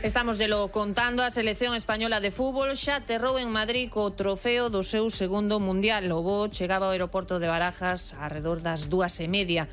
Estamos lo contando, a selección española de fútbol xa aterrou en Madrid co trofeo do seu segundo mundial. O voo chegaba ao aeroporto de Barajas arredor das 2:30.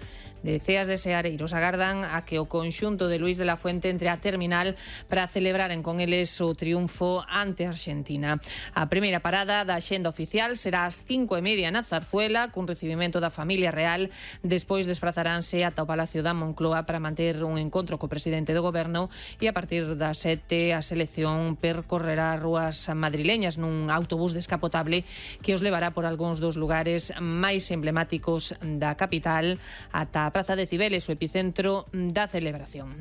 Deceas de seareiros agardan a que o conxunto de Luís de la Fuente entre a terminal para celebraren con eles o triunfo ante Argentina. A primeira parada da axenda oficial será ás 5:30 na Zarzuela, cun recibimento da familia real. Despois desprazaranse ata o Palacio da Moncloa para manter un encontro co presidente do goberno e a partir das 7 a selección percorrerá as rúas madrileñas nun autobús descapotable que os levará por algúns dos lugares máis emblemáticos da capital ata a Praza de Cibeles, o epicentro da celebración.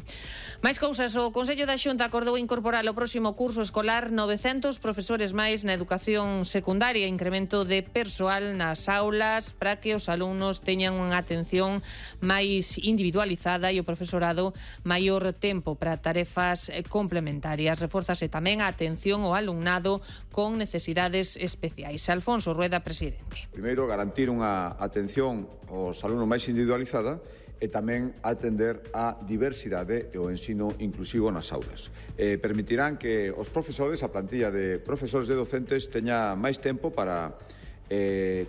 Máis cousas, o Consello da Xunta acordou incorporar ao próximo curso escolar 900 profesores máis na educación secundaria, incremento de persoal nas aulas para que os alumnos teñan unha atención máis individualizada e o profesorado maior tempo para tarefas complementarias. Reforzase tamén a atención ao alumnado con necesidades especiais. Alfonso Rueda, presidente. Primeiro, garantir unha atención aos alumnos máis individualizada e tamén atender a diversidade e o ensino inclusivo nas aulas. Permitirán que os profesores, a plantilla de profesores e docentes, teña máis tempo para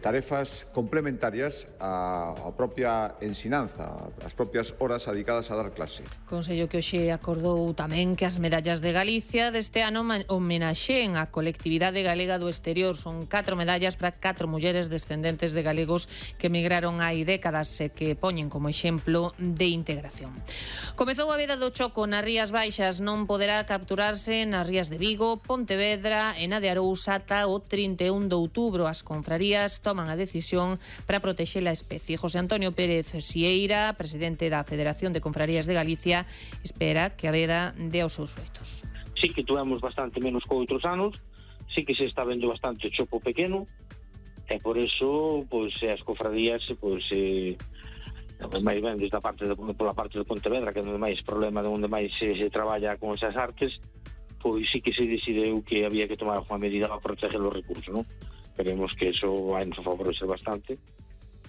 tarefas complementarias á propia ensinanza, as propias horas dedicadas a dar clase. Consello que hoxe acordou tamén que as medallas de Galicia deste ano homenaxeen a colectividade galega do exterior. Son 4 medallas para 4 mulleres descendentes de galegos que emigraron hai décadas e que poñen como exemplo de integración. Comezou a veda do choco nas Rías Baixas, non poderá capturarse nas Rías de Vigo, Pontevedra e na de Arousa ata o 31 de outubro. As confrarías toman a decisión para protexer a especie. José Antonio Pérez Sieira, presidente da Federación de Confrarías de Galicia, espera que a veda dé os seus froitos. Sí que tuvemos bastante menos que outros anos, sí que se está vendo bastante chopo pequeno, e por eso, pois, as confrarías, pois, máis ben desde pola parte de Pontevedra, que é onde máis problema, onde máis se traballa con esas artes, pois sí que se decideu que había que tomar unha medida para proteger os recursos, non? Esperemos que eso vai nos favorecer bastante.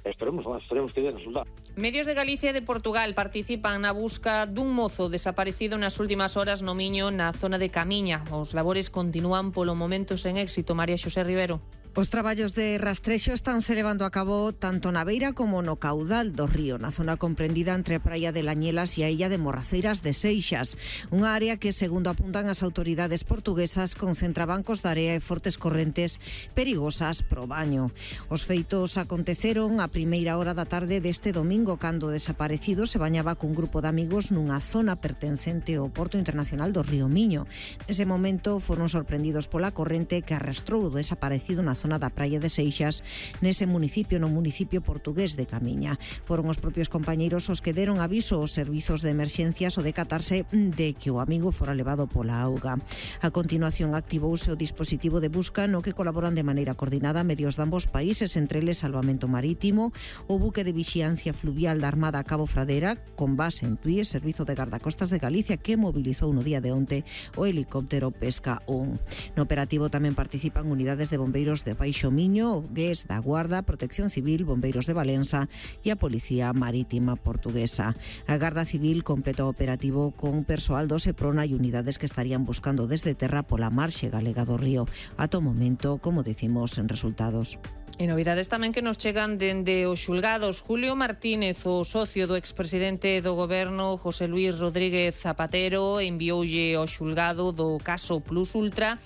Esperemos que dé resultado. Medios de Galicia e de Portugal participan na busca dun mozo desaparecido nas últimas horas no Miño, na zona de Camiña. Os labores continúan polo momento sen éxito. María Xosé Rivero. Os traballos de rastrexo estánse levando a cabo tanto na beira como no caudal do río, na zona comprendida entre a praia de Lañelas e a illa de Morraceiras de Seixas, unha área que, segundo apuntan as autoridades portuguesas, concentra bancos de area e fortes correntes perigosas pro baño. Os feitos aconteceron a primeira hora da tarde deste domingo, cando o desaparecido se bañaba cun grupo de amigos nunha zona pertencente ao Porto Internacional do Río Miño. Nese momento foron sorprendidos pola corrente que arrastrou o desaparecido na zona da praia de Seixas, nese municipio, no municipio portugués de Camiña. Foron os propios compañeiros os que deron aviso aos servizos de emerxencias o decatarse de que o amigo fora levado pola auga. A continuación activouse o dispositivo de busca no que colaboran de maneira coordinada medios de ambos países, entre eles Salvamento Marítimo, o buque de vixiancia fluvial da Armada Cabo Fradera, con base en Tui, Servizo de Gardacostas de Galicia, que mobilizou no día de onte o helicóptero Pesca 1. No operativo tamén participan unidades de bombeiros de Baixo Miño, o GES da Guarda, Protección Civil, Bombeiros de Valença e a Policía Marítima Portuguesa. A Garda Civil completa o operativo con persoal do Seprona e unidades que estarían buscando desde terra pola marxe galega do río. Ata o momento, como dicimos, en resultados. E novidades tamén que nos chegan dende os xulgados. Julio Martínez, o socio do expresidente do goberno José Luís Rodríguez Zapatero, envioulle ao xulgado do caso Plus Ultra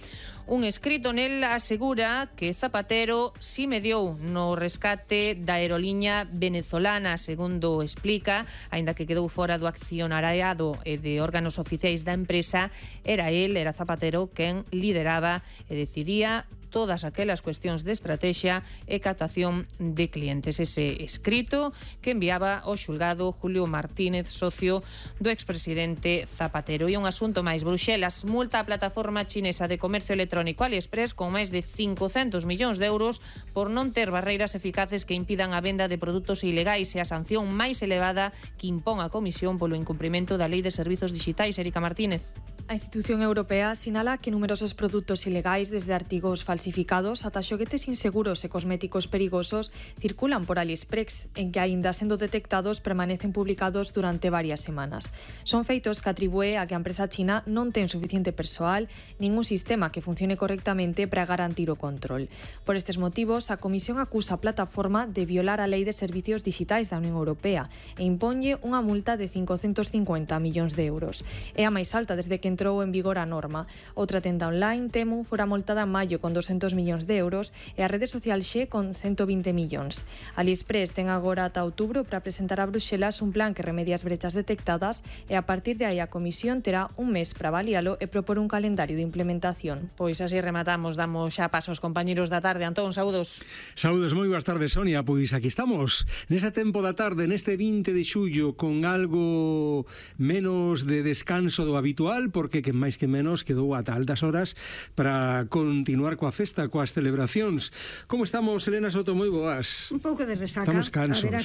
un escrito. Nel asegura que Zapatero si mediou no rescate da aeroliña venezolana. Segundo explica, aínda que quedou fora do accionariado e de órganos oficiais da empresa, era Zapatero quen lideraba e decidía todas aquelas cuestións de estrategia e captación de clientes. Ese escrito que enviaba ao xulgado Julio Martínez, socio do expresidente Zapatero. E un asunto máis, Bruxelas multa a plataforma chinesa de comercio electrónico AliExpress con máis de 500 millóns de euros por non ter barreiras eficaces que impidan a venda de produtos ilegais, e a sanción máis elevada que impón a Comisión polo incumprimento da Lei de Servizos Digitais. Erika Martínez. A institución europea sinala que numerosos produtos ilegais, desde artigos falsificados ata xoguetes inseguros e cosméticos perigosos, circulan por AliExpress, en que, aínda sendo detectados, permanecen publicados durante varias semanas. Son feitos que atribúe a que a empresa china non ten suficiente persoal nin un sistema que funcione correctamente para garantir o control. Por estes motivos, a Comisión acusa a plataforma de violar a Lei de Servicios Digitais da Unión Europea e imponlle unha multa de 550 millóns de euros. É a máis alta desde que entrou en vigor a norma. Outra tenda online, Temu, fora multada en maio con 200 millóns de euros e a rede social Xe con 120 millóns. AliExpress ten agora ata outubro para presentar a Bruxelas un plan que remedie as brechas detectadas e a partir de aí a Comisión terá un mes para avalialo e propor un calendario de implementación. Pois así rematamos, damos xa paso aos compañeros da tarde. Antón, saúdos. Saúdos, moi boas tardes, Sonia. Pois aquí estamos, neste tempo da tarde, neste 20 de xullo, con algo menos de descanso do habitual, porque que máis que menos quedou ata altas horas para continuar coa festa, coas celebracións. Como estamos, Elena Soto? Moi boas. Un pouco de resaca. Estamos cansos. Haberá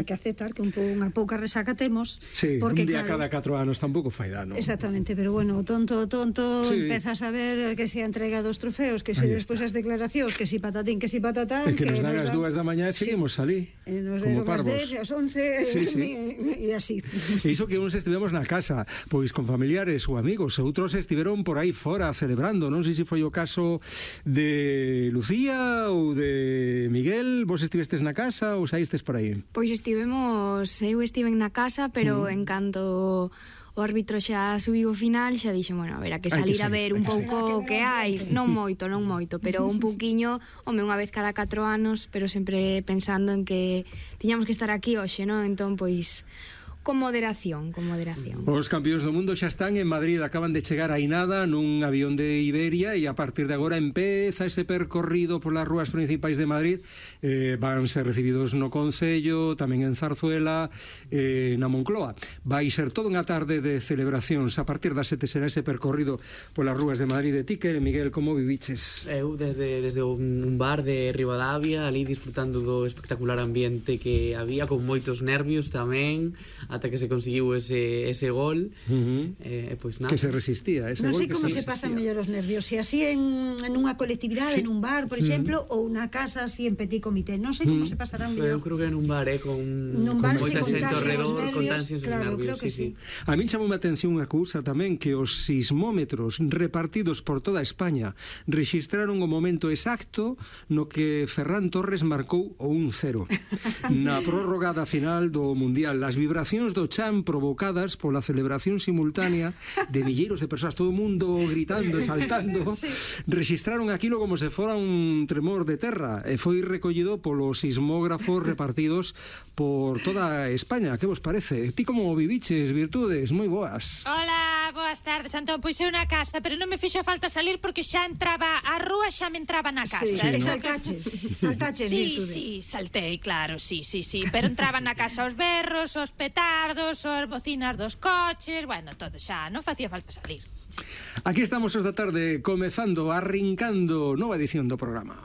que aceptar que unha pouca resaca temos. Sí, porque, un día claro, cada 4 anos tampouco fai dano. Exactamente, pero bueno, tonto, sí. Empezas a ver que se entrega dos trofeos, que se despois as declaracións, que si patatín, que si patatán, que nos dan as 2 da mañá e seguimos ali. Nos como deron parvos. as 10, as 11, sí. E así. E iso que uns estivemos na casa, pois con familiares ou amigos, e outros estiveron por aí fora celebrando. Non sei se foi o caso de Lucía ou de Miguel. Vos estivestes na casa ou saístes por aí? Pois eu estive na casa, pero en canto o árbitro xa subiu o final, xa dixen, bueno, a ver, a que salir a ver un pouco o que hai, non moito, pero un pouquiño, home, unha vez cada 4 anos, pero sempre pensando en que tiñamos que estar aquí hoxe, non? Entón, pois, con moderación. Os campións do mundo xa están en Madrid, acaban de chegar aí nada nun avión de Iberia e a partir de agora empeza ese percorrido polas rúas principais de Madrid. Van ser recibidos no Concello, tamén en Zarzuela, na Moncloa. Vai ser toda unha tarde de celebracións. A partir das 7 será ese percorrido polas rúas de Madrid. De ti, que, Miguel, como viviches? Eu desde un bar de Ribadavia, ali disfrutando do espectacular ambiente que había, con moitos nervios tamén, ata que se conseguiu ese gol. Pois nada. Que se resistía ese gol. Non sei como se pasan mellor os nervios, se así en unha colectividade, en un bar, por exemplo, ou unha casa así en petit comité. Non sei como se pasarán mellor. Eu creo que en un bar, con moita xente ao redor, contaxios e nervios. Sí. A min chamou a atención unha cousa tamén, que os sismómetros repartidos por toda España rexistraron o momento exacto no que Ferran Torres marcou o 1-0 na prórroga da final do Mundial. As vibracións do chan provocadas pola celebración simultánea de milleiros de persoas, todo o mundo gritando e saltando, rexistraron aquilo como se fora un tremor de terra e foi recollido polos sismógrafos repartidos por toda España. Que vos parece? Ti como viviches, Virtudes? Moi boas. Hola, boas tardes, Antón. Pois eu na casa, pero non me fixo falta salir porque xa entraba a rúa, xa me entraba na casa. Sí, saltaches, Virtudes. Sí, saltei, claro, sí, pero entraban na casa os berros, os petardos, as bocinas dos coches, bueno, todo xa, non facía falta salir. Aquí estamos os da tarde, comezando, arrincando nova edición do programa.